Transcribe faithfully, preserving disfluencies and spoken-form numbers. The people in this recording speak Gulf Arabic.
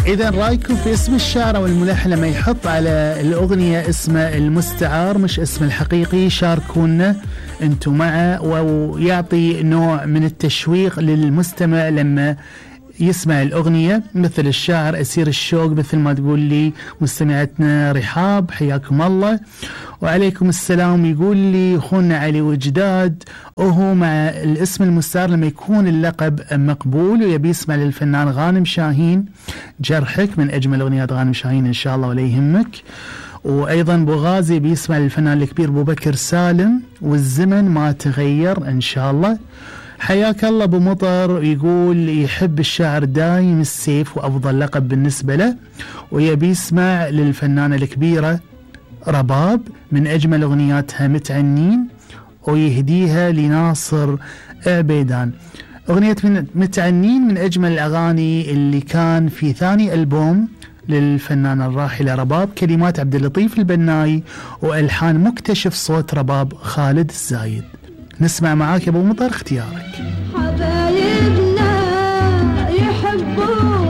إذا رأيكم في اسم الشاعر أو الملحن لما يحط على الأغنية اسمه المستعار مش اسم الحقيقي، شاركونا أنتم معه، ويعطي نوع من التشويق للمستمع لما يسمع الأغنية. مثل الشاعر أسير الشوق، مثل ما تقول لي مستمعتنا رحاب، حياكم الله وعليكم السلام. يقول لي أخونا علي وجداد، وهو مع الاسم المستعار لما يكون اللقب مقبول ويبي يسمع للفنان غانم شاهين جرحك، من أجمل أغنيات غانم شاهين إن شاء الله ولا يهمك. وأيضا بوغازي بيسمع للفنان الكبير أبو بكر سالم والزمن ما تغير إن شاء الله. حياك الله أبو مطر، يقول يحب الشاعر دايم السيف وأفضل لقب بالنسبة له، ويبي يسمع للفنانة الكبيرة رباب من أجمل أغنياتها متعنين، ويهديها لناصر عبيدان. أغنية من متعنين من أجمل الأغاني اللي كان في ثاني ألبوم للفنانة الراحلة رباب، كلمات عبد اللطيف البناي وألحان مكتشف صوت رباب خالد الزايد. نسمع معاك يا أبو مطر اختيارك.